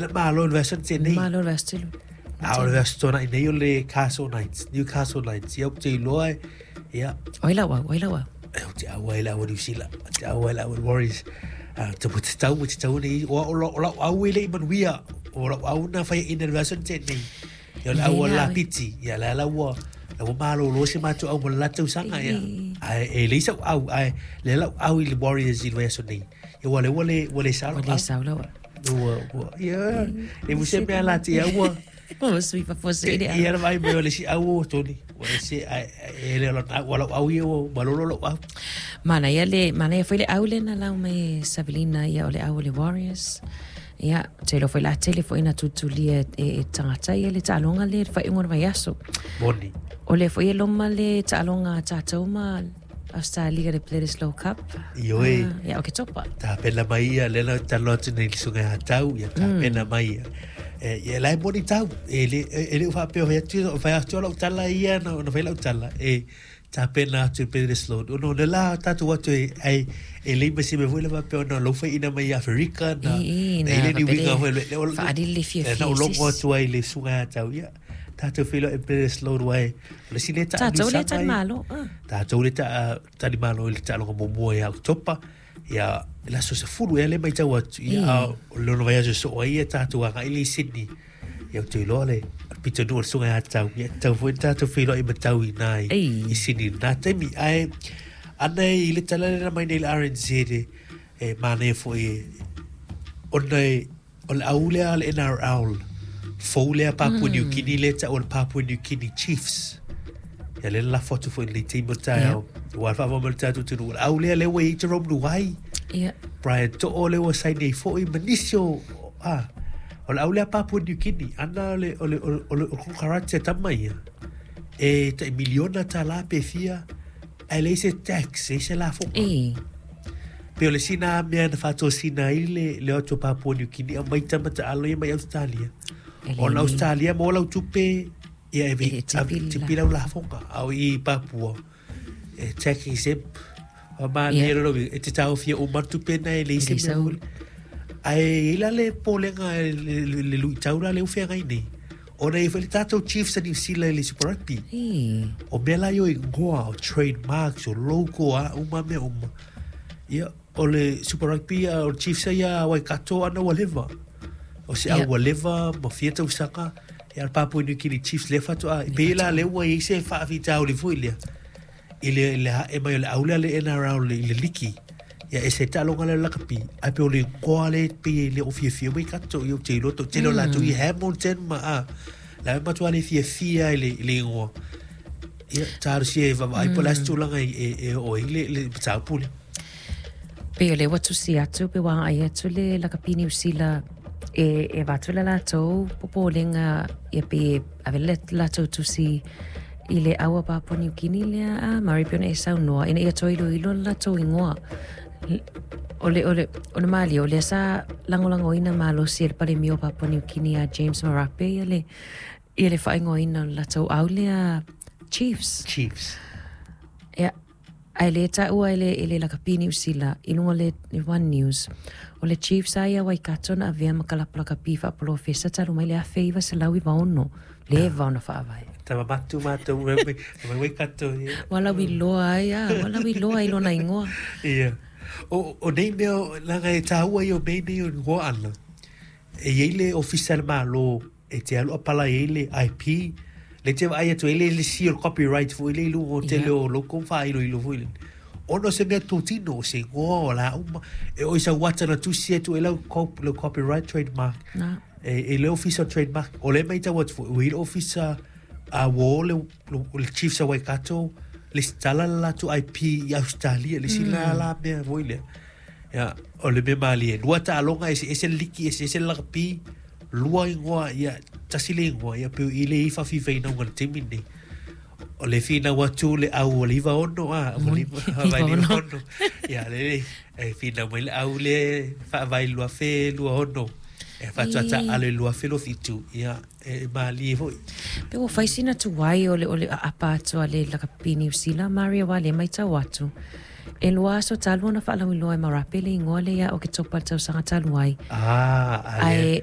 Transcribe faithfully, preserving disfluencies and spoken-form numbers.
Le malo le vaiaso na tea nei. Malo le vaiaso talu. A o le vaiaso tuanai nei o le Castle Knights, Newcastle Knights. Ia ou te iloa e, ia. O ai lau au, o ai lau au? E ou te auai i le au a Niu Sila, ou te auai i le au a Warriors. Ah, te te tau, te tau nei, o, o, o lau au e le i manuia, o lau au na faiaina i le vaiaso na tea nei. Ia o le au a Lapiti, ia la la ua, la ua malolo si matou au mo le la tausaga, ia. Ae e leai sau au, ae lea lau au i le Warriors i le vaiaso nei. Ia ua le ua le, ua le sao lau Ua le au. sao lau au. Ua, ua, ia, e muse mea la te au ua. Ua sui faafuasei le au. Ia na vaai mai o le isi au ua toni. Ua ese, ae, e le o lana au, lau au ia ua malolo lau au. Manaia le, manaia foi le au lea na lau mai e Savelina, ia o le au o le Warriors. Ia, ou te iloa foi la tele foi ina tulitulia e, e tagata ia le taaloga lea i le faaiuga o le vaiaso. Moni. O lea foi e loma le taaloga a tatou ma Australia le Bledisloe Cup. Ioe. Ah, ia Oketopa. Tapena mai ia, lea na talanoa atu nei i le susuga ia Tau, ia tapena mai ia. E, ia la e moni tau, e le, e le o faapea o fai atu, o fai atu lau tala ia, na, na fai lau tala, e tapena atu i Bledisloe. Ona o le la tatou atu e, ai, e lei ma se mea foi le faapea ona lou faiina mai i Aferika, na, I, i, na na ile ni faapea uiga le foi le, le, o, faalili le fiafia na i o logo se isi. atu ai le susuga ia Tau, ia, tatou feiloai i Bledisloe aua e, o le isi lea Tatou lea taanusaga tali ai. malo, ah. Tatou lea taa, talimalo i le taaloga muamua ia Oketopa, ia, le aso sefulu ea le matau atu, ia, Mm. a o le lona vaiaso soo ai ia tatou agai le i Sydney. Ia, ou te iloa le, o le pitonuu o le susuga ia Tau, ia, tatau foi ona tatou feiloai ma tau i ina i, Ei. i Sydney i lena taimi. Ae, ana i le tala lea na mai nei i le R N Z e, e manaia foi e, ona e, o le au lea a le N R L, fou lea Papua New Guinea lea taua le Papua New Guinea Chiefs. Ia lea na lafo atu foi i le taimi o taeao. Ua faavae mai le tatou atunuu. O le au lea lea ua i ai Jerome Luai. Ia. Brian To'o lea ua saini ai foi ma nisi o, ah, o le au lea Papua New Guinea. Ana o le, o le, o le, o le, o le kokarate a tama ia. E tai miliona tālā pe fia, ae leai se tax, leai se lafoga. Ei. Pe o le sina mea na faatosina ai le, le o atu o Papua New Guinea, au mai tama taalo ia mai Australia. E le Ona ni. Australia mo lau tupe, ia e E ve, le a- tipi la. tipi lau lafoga, au i Papua. E tax exempt. O ma Ia. ne ro e te taofia o ma tupe na e le E isi le mea sau. foi. Ae i la le polega e le, le, le luitau la le ufeagai nei. Ona e foi le tatou Chiefs a New Zealand i le Super Rugby. Ei. O mea la io ingoa, o trademarks, o logo, a uma mea uma. Ia, o le Super Rugby, a, o le Chiefs ia Waikato ana ua leva. O se au Ia. ua leva, ma fia tausaga, ia le Papua New Guinea Chiefs lea faatoa. E pei la lea ua i ai se faafitauli foi lea. I le, le hae mai o le au lea le N R L i le liki. Ia, e se taaloga lea o le lakapi. Ae pei o le ingoa le pei e le o fiafia Waikato, ia ou te iloa tau tele o latou i Hamilton ma, a. La e matua le fiafia i le, i le ingoa. Ia, talosia e vaavaai po o le a se tulaga e, e, e oo ai le, le mataupu lea. Pei o lea ua tusi atu, pe ua agai atu le lakapi Niu Sila e, e avatu le latou popolega, ia pe ave le latou tusi i le au a Papua New Guinea lea, a Murray pe ona e saunoa, ina ia toe iloilo le latou ingoa. O le, o le, o le malie, o lea sa lagolagoina malosi e le palemia o Papua New Guinea a James Marape ia le, ia le faaigoaina o le latou au lea Chiefs. Chiefs. Ia, ae le taua e le, e le lakapi Niu Sila i luga o le One News. O le Chiefs a ia Waikato na avea ma kalapu lakapi faapolofesa talu mai le afe iva selau iva ono. Leva ona faavae. Tamamatu mātou, me, me, me Waikato, ia. Ua lauiloa ai, a, ua lauiloa ai lona ingoa. Ia. O, o nei mea, laga e tāua ia o mea nei o ingoa ana. E iai le ofisa le malo, e te alu apala i ai le I P, le te vaai atu ai le le si o le copyright foi le i luga o tele Ia. o loko whaailoilo foi le. Ona o se mea tōtino, o se ingoa o la uma, e o i sa wata na tusi atu e lau cop-, lau copyright trademark. Na. E, e le ofisa trademark, o le mai tau atu foi, o i le ofisa a uo le, le, le Chiefs a Waikato, le stala le latou I P i Australia, le sila Mm. la mea foi lea. Ia, o le mea malie. Lua taaloga, ese ese le liki, ese ese le lakapi, lua ingoa, ia, tasi le ingoa, ia, pe i le i whawhiwhainauga le taimi nei. O le whinau atu le au o le iwa ono, a, o le iwa, Iwa vai le iwa ono. ono. Ia, le, le, e whinau mai le au le, whaavai lua whe, lua ono. E whatuata Ei. ale lua whelo whitu, ia, e malie foi. Pe ua fai sina tuai o le, o le aapa atu a le lakapi Niu Sila, Maria wa le mai tau atu. E lua aso talu ona whaalauiloa e Marape le ingoa le ia o ke topa le tausaga talu ai. Ah, ale, Ae,